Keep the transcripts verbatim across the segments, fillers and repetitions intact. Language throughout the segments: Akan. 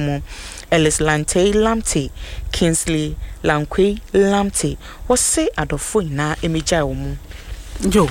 mu Ellis Lantey Lamptey, Kingsley Lankwei Lamptey. Wɔse adɔfo nyinaa mmegyae wɔn mu. Yo.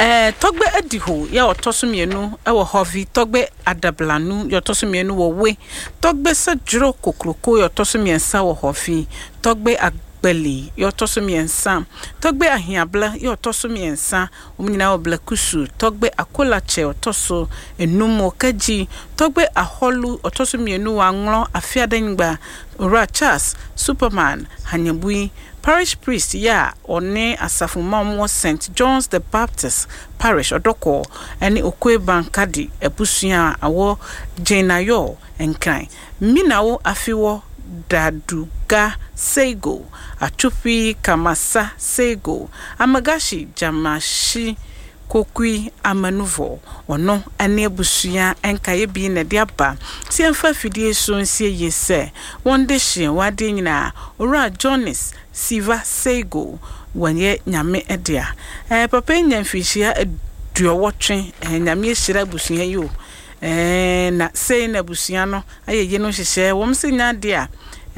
Eh, Tɔgbe Adiho yɛ ɔtɔ so mmienu wɔ Hɔvi, Tɔgbe Adablanu yɛ ɔtɔ so mmienu wɔ We, Tɔgbe Sɛdworo Kokroko yɛ ɔtɔ so mmiɛnsa wɔ Hɔvi, Tɔgbe Agbali yɛ ɔtɔ so mmiɛnsa, Tɔgbe Ahiabla yɛ ɔtɔ so mmiɛnsa, wɔn nyinaa wɔ Blakusu, Tɔgbe Akolakyɛ ɔtɔ so enum wɔ Kagyi, Tɔgbe Ahɔlu ɔtɔ so mmienu wɔ Anglɔ Afiadanyigba, Owura Charles Superman Hanyabui, Parish Priest yi a ɔne asafo mma a wɔwɔ Saint John's the Baptist Parish, Ɔdɔkɔɔ, ne Okoe Bankadi abusua a ɛwɔ Gyenayor, Nkran, Minawo Afewɔ Daduga Seigo, Atwopi Kamasa Seigo, Amagashi Gyamashi Kokui Amanuvɔ, ɔno ne abusua nkaeɛ bi na ɛde aba sɛ yɛmfa afidie so nsie yie sɛ wɔn dehyeɛ wɔ adeɛ nyinaa. Owura Jones Siva Seigo, wɔyɛ Nyame dea. Ɛɛ papa yi nya mfirihyia aduɔwɔtwe. Ɛɛ Nyame ahyira abusua yi o. Ɛɛ na sei na abusua no ayɛ yie no nhyehyɛɛ. Wɔn sɛ nya adeɛ a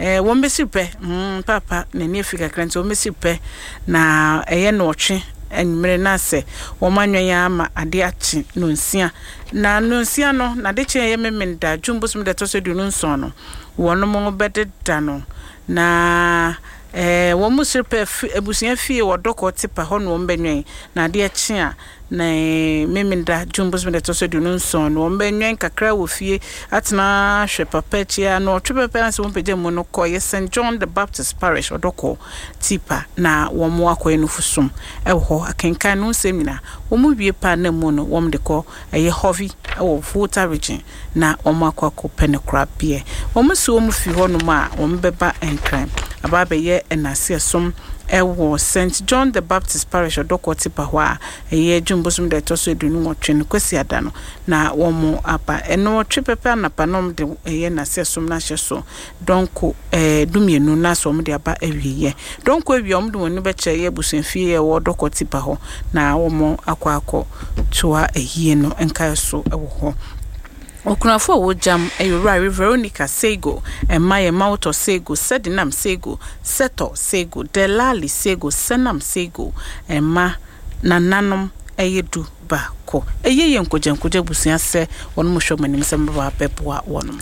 ɛɛ wɔn bɛsi pɛ. Mm, papa n'ani afi kakra nti wɔn bɛsi pɛ na ɛyɛ nɔɔtwe anwummere na sɛ wɔn anwɛn ara ma ade akye nonsia. Na nonsia no, n'adekye a ɛyɛ Memenda, June bosom da ɛtɔ so aduonu nson no, wɔn bɛdeda no. Na ɛɛ wɔn mu sere pɛ fi abusua fie wɔ Dɔkɔ Tipa hɔ na wɔn bɛnwɛn. Na adeɛ kye a, na Memenda, June bosom da ɛtɔ so aduonu nson no, wɔn bɛnwɛn kakra wɔ fie atena ahwɛ papa akyi a na ɔtwe pɛpɛ ansa wɔn pagya mu no kɔ yɛ Saint John the Baptist Parish Ɔdɔkɔ Tipa na wɔn akɔyɛ nufusom ɛwɔ hɔ akenkan no nsɛm nyinaa. Wɔn wie pa na mu no wɔn de kɔ ɛyɛ Hɔvi ɛwɔ Volta Region na wɔn akɔ akɔpɛ ne korabeɛ. Wɔn si wɔn fi hɔnom a wɔn bɛba Nkran aba abɛyɛ ɛnaseɛsom ɛwɔ Saint John the Baptist Parish Ɔdɔkɔ Tipa hɔ a ɛyɛ June bosom da ɛtɔ so aduonu nwɔtwe no Kwasi Ada no na wɔn aba. Ɛno ɔtwe pɛpɛ anapa na wɔn de ɛyɛ naseɛsom no ahyɛ so dɔnko ɛɛ dumienu na so wɔn de aba awieɛ. Dɔnko awie wɔn de wɔn ani bɛkyerɛ ɛyɛ abusuafie a ɛwɔ Ɔdɔkɔ Tipa hɔ na wɔn akɔ akɔ toa ayie no nkae so ɛwɔ hɔ. Okunafo a wɔgyam ɛyɛ Owura Veronica Seigo, ɛma yɛ Mawotɔ Seigo, Sɛdinam Seigo, Sɛtɔ Seigo, Delali Seigo, Sɛnam Seigo, ɛma nananom ɛyɛ du baako. Ɛyɛ yɛ nkogyankogya abusua sɛ wɔn mo hwɛ wɔn anim sɛ mbɛba abɛboa wɔn.